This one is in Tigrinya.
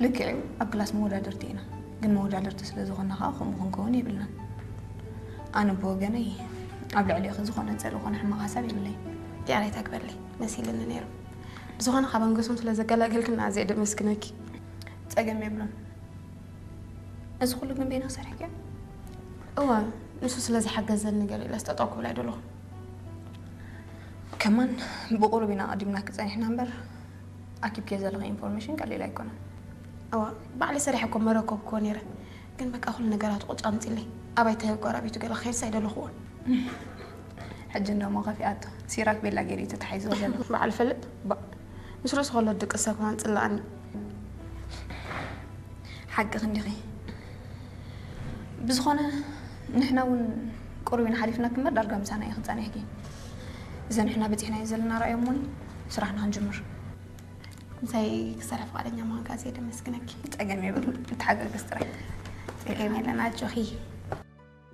ልክዕ እዩ፣ ኣብ ክላስ መወዳደርቲ ኢና፣ ግን መወዳደርቲ ስለ ዝኾንና ከዓ ከምኡ ክንከውን የብልናን። ኣነ ብወገነይ ኣብ ልዕሊኺ ዝኾነ ጸልእ ኮነ ሕማቕ ሓሳብ የብለይ። ዲኣር ኣይታግበለይ፣ መሲልኒ ነይሩ። ብዝኾነ ካብ ኣንገሶም ስለ ዘገላገልክና ኣዝየ ደመስግነኪ። ጸገም የብሉን። እዚ ኩሉ ግን በይና ሰሪሕክዮ? እወ፣ ንሱ ስለ ዝሓገዘኒ ገለ ኢለ ስጠጠው ክብል ኣይደለኹ። ከማን ብቁሩብ ኢና ኣቐዲምናኪ ጸኒሕና እምበር፣ ኣኪብክዮ ዘለኺ ኢንፎርሜሽን ቀሊል ኣይኮነን። እዋ፣ ባዕለይ ሰሪሐ እኮ መረከብክዎ ነይረ። ግን በቃ ኩሉ ነገራት ቁጭ ኣምፂለይ። ኣባይ ተህብ ቆራቢቱ ገለ ክኸይድስ ኣይደለኹዎን። ሕጂ እንደሞ ከፊኣቶ። ሲራክ ቤላ ገይሩ እዩ ተታሒዝዎ ዘሎ። በዓል ፈልጥ፣ ባ-፣ ምስ ርእሱ ከሎ ድቅስ ሰብ ከማን ጽላኣኒ። ሓቂ ክንዲኺ። ብዝኾነ ንሕና እውን ቁሩብ ኢና ሓሊፍናኪ እምበር ዳርጋ ምሳና ኢኺ ጸኒሕኪ። እዚ ንሕና በጺሕናዮ ዘለና ራእይ እሞኒ ስራሕና ክንጅምር። ምሳይ ክሰርሕ ፍቓደኛ ምዃንካ ኣዝየ ደመስግነኪ። ጸገም የብሉን፣ ንተሓጋገዝ ጥራይ። ጸገም የለን፣ ኣጆኺ።